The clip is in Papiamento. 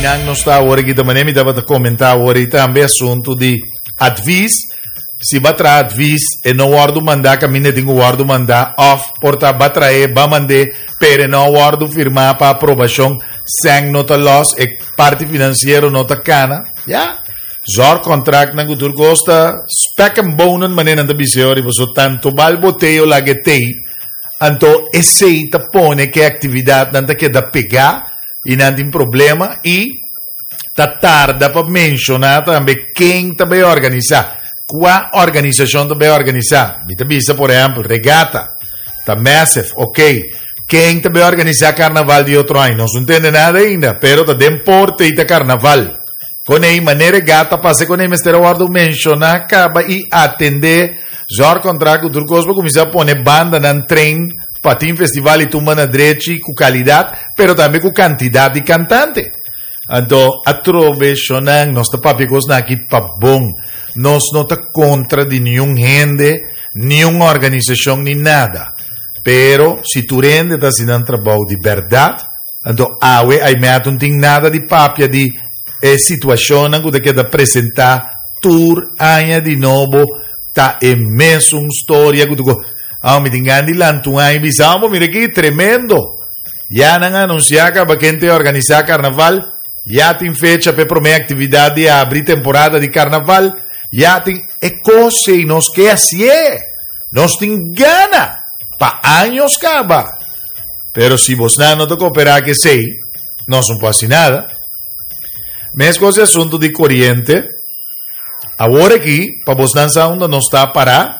Einan nos ta awor aki, manera mi tabata komentá awor i tambe asuntu di advies. Si b'a traha advies e no wòrdu mandá kaminda tin ku wòrdu mandá òf por ta b'a trae b'a mand'é pero e no a wòrdu firmá pa aprobashon, sèn no ta lòs, e parti finansiero no ta kana. Ya. Zorgcontractnan ku tur kos ta spek en bonen manera nan ta bisa ori paso tanto bal boteo laga e tei anto esei ta pone ku e aktividatnan ta keda pegá i nan tin problema i ta tarda pa menshoná tambe ken ta bai organisá, kua organisashon ta bai organisá. Mi ta bisa por ehèmpel regata ta massive, ok, ken ta bai organisá karnaval di otro aña? Nos no tende nada ainda pero ta den porte i ta karnaval. Kon ei manera e gata pasa kon ei mester a wòrdu menshoná kaba i atendé zorgcontract ku tur kos pa kuminsá pone bandanan train pa tin festival i tumba na drechi ku kalidat pero tambe ku kantidat di kantante. Anto atrobe shonnan nos ta papia kosnan aki pa bon. Nos no ta kontra di niun hende, niun organisashon ni nada. Pero si tur hende ta hasi nan trabou di bèrdat, Anto awe Aimeat no tin nada di papia di e situacionnan cu ta keda presenta tur aña di nobo ta e mesun storia cu tu ah mi tin gana di lanta un aña y bisa amo mira aki tremendo ya nan a anuncia caba ken ta organisa carnaval ya tin fecha pa e prome actividad di abri temporada di carnaval ya tin e cos ey nos ke hacié nos tin gana pa años caba. Pero si bosnan no ta kooperá ku esei, nos no por hasi nada. Meskos e asuntu di koriente, awor aki, pa bosnan sa unda nos ta pará.